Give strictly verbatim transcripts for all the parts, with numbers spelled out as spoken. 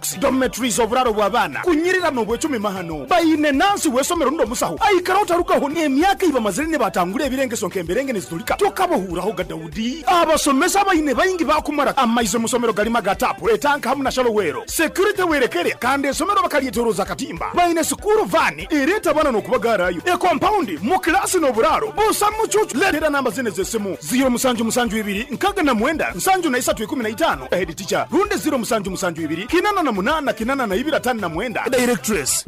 Barracks, dormitories, oburaro bw'abaana kunyirira n'obwecumi mahano. Baine nansi w'esomero n'omusaho aikara otarugaho n'emyaka ibamazire nibatangura ebirengeso nk'emberenge nizitulika tokabahuuraho ga Daudi. Abasomesa baine baingi bakumara amaizi mu somero galima ga tapu etanka hamu na shalowero security werekere kandi esomero bakalyetoroza katimba. Baine sukuru vani ereta bana n'okubagarayo e compound mu klasi n'oburaro busa mucucu. Letera namba zine z'esimu ziro musanju musanju ibiri nkaga na mwenda nsanju na isatu ikumi na itano head teacher runde ziro musanju musanju ibiri kinana na munana kinana na ibiri atano na mwenda directress.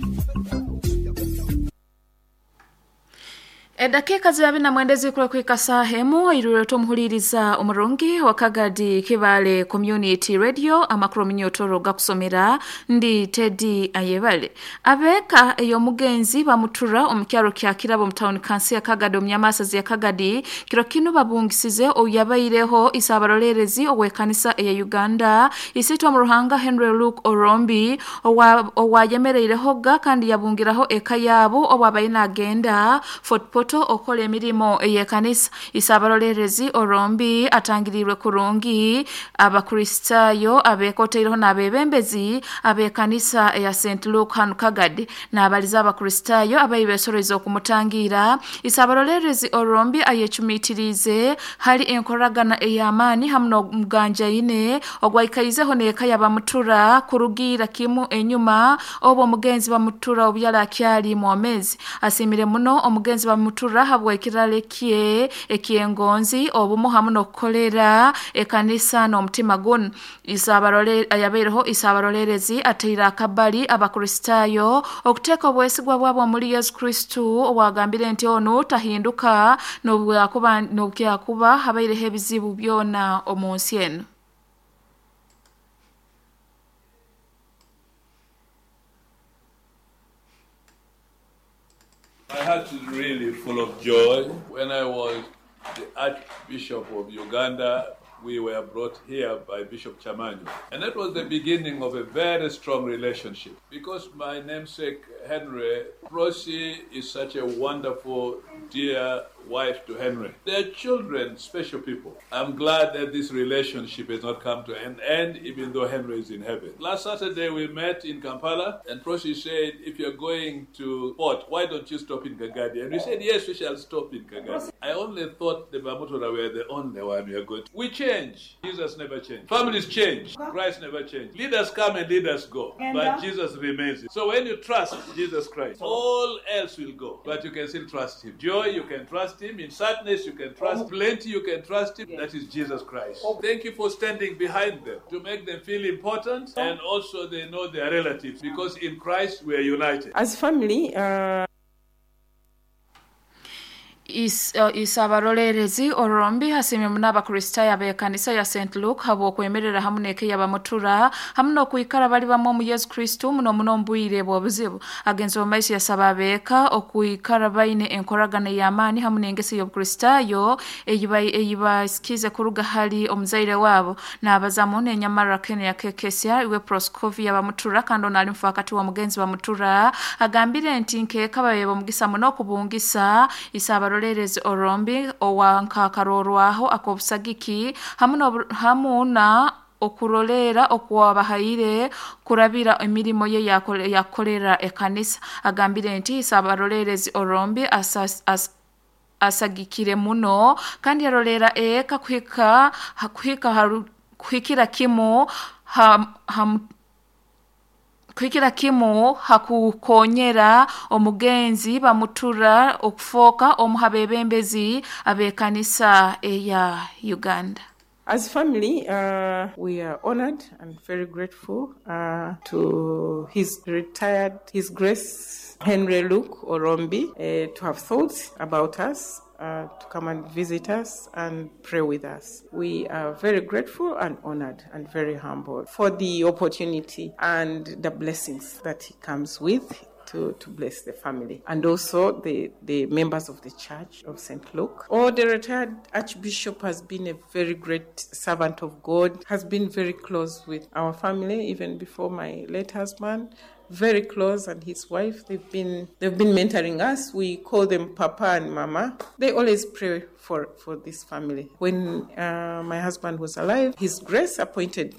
Edakika zibabi na mwendezi kule kuika sahemu irureto muhuliriza omurungi wa Kagadi Kibale Community Radio amakuru minyotoro gakusomera ndi Teddy Ayebale. Abeka eyo mugenzi bamutura omukyaro kya Kirabo mu town council ya Kagadi omnyamasazi ya Kagadi kiro kino babungisize oyabaireho isabarolerezi owekanisa eya Uganda isitwa mu Ruhanga Henry Luke Orombi owa owayemereireho ga kandi yabungiraho eka yabo owabayina agenda Fort Poto okola emirimo eyekanisa. Isabarolerezi Orombi atangirirwe kurungi abakristayo abekoteireho n'abebembezi abekanisa eya Saint Luke hanu Kagadi n'abaliza abakristayo abayibesoreza okumutangira. Isabarolerezi Orombi ayecumitirize hali enkoragana ey'amaani hamu n'omuganjaine ogwaikaizeho n'eka yabamutura kurugira kimu enyuma obwo omugenzi bamutura obyala akyali mwomezi. Asimire muno omugenzi bamutura habwa ekirale kye ekyengonzi obumu hamu n'okukolera ekanisa n'omutima guno. Isabarole ayabaireho isabarolerezi ateire akabali abakristayo okuteeka obwesigwa bwabo muri Yesu Kristo owagambire nti ono tahinduka n'obwakuba n'obukyakuba habaireho ebizibu byona omu nsi eno. My heart is really full of joy. When I was the Archbishop of Uganda, we were brought here by Bishop Chamanyo. And that was the beginning of a very strong relationship. Because my namesake, Henry, Rosie is such a wonderful, dear wife to Henry. Their children, special people. I'm glad that this relationship has not come to an end, even though Henry is in heaven. Last Saturday we met in Kampala, and Prossy said, if you're going to port, why don't you stop in Kagadi? And we said, yes, we shall stop in Kagadi. I only thought the Bamutura were the only one we are going to. We change. Jesus never changed. Families change. Christ never changed. Leaders come and leaders go, but Jesus remains. So when you trust Jesus Christ, all else will go, but you can still trust him. Joy, you can trust him. In sadness, you can trust. Plenty, you can trust him. That is Jesus Christ. Thank you for standing behind them to make them feel important, and also they know their relatives, because in Christ we are united. As family, uh... Is, uh, isabarolerezi Orombi hasimye mun'abakristayo ab'ekanisa ya Saint Luke habw'okwemerera hamu n'eka yabamutura hamu n'okwikara bali bamwe omu Yesu Kristo muno muno omu bwire bw'obuzibu. Agenzi omu maiso yasaba abeeka okwikara baine enkoragana ey'amaani hamu n'engeso y'obukristayo eyibasikize kuruga hali omuzaire waabo. N'abazamu n'enyamara Kenya Kekesya iwe Proscovia bamutura kandi ono ali mufaakati w'omugenzi bamutura agambire nti nkeeka babe omugisa muno okubungisa isabarole Lerezi Orombi owankakarorwaho akobusagiki hamu hamu na okurolera okwabahaire kurabira emirimo ye yakolera ekanisa. Agambire nti isabarolerezi Orombi asas, as, asagikire muno kandi yarolera eka kuhika kuhika haru, kuhikira kimu ha, ha, kuhikira kimu hakukonyera omugenzi bamutura okufoka omuhabebembezi abekanisa eya Uganda. As family, uh, we are honored and very grateful uh, to his retired, His Grace Henry Luke Orombi, uh, to have thought about us, uh, to come and visit us and pray with us. We are very grateful and honored and very humbled for the opportunity and the blessings that he comes with to, to bless the family and also the, the members of the Church of Saint Luke. Oh, the retired Archbishop has been a very great servant of God, has been very close with our family, even before my late husband. Very close, and his wife, they've been they've been mentoring us. We call them Papa and Mama. They always pray for, for this family. When uh, my husband was alive, His Grace appointed my